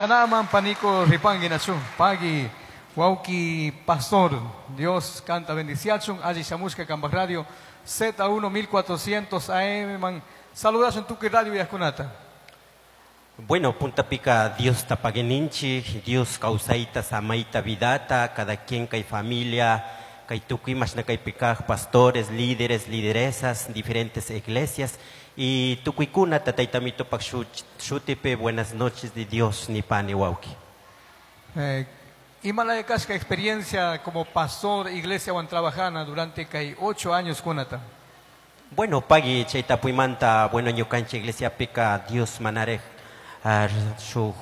Anaman paniko ripangi nachu pagui wauki pastor Dios canta bendiciachun alli shamushka kambaj radio Z1 1400 AM man saludashun tukuy radio uyajkunata. Bueno, puntapika Dios tapagueninchi, Dios causaita, samaita, vidata, cada quien kay familia, kay tukuy mashna kaypikaj, pastores, líderes, lideresas, diferentes iglesias, y tukuykuna tataytamitopak shutipi, buenas noches de Dios, ni pani wauki. Imalaya kashka experiencia como pastor, iglesia wan trabajana durante kay 8 años kunata. Bueno, pagui chayta puymanta, bueno, ñukanchik iglesia pica Dios manarej su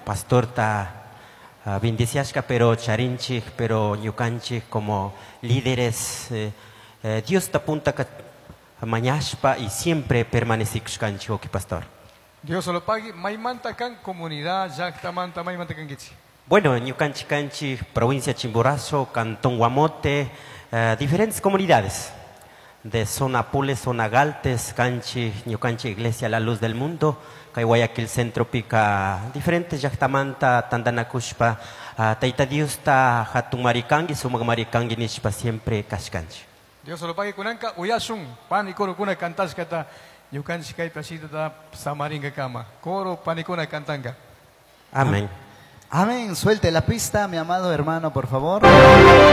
pastorta bendiciashka, pero charinchik, pero ñukanchik como líderes, Dios ta punta ka mañashpa y siempre permanecikushkanchik, oki pastor. Dios lo pague, maymanta kan comunidad, llaqtamanta, maymanta kankichik. Bueno, ñukanchik kanchik, provincia Chimborazo, cantón Guamote, diferentes comunidades de zona Pule, zona Galtes, kanchik, ñukanchik iglesia La Luz del Mundo, kay Guayaquil Centro pica diferentes llaqtamanta tandanakushpa, Tayta Diosta hatun marikangi, sumaq marikangi nishpa siempre kashkanchik. Dios lo pague kunanka, uyashun, pani coro kuna kantashkata, ñukanchik kaypi ashitata samaringa kama. Coro panikuna kantanga. Amén. Amén. Suelte la pista, mi amado hermano, por favor.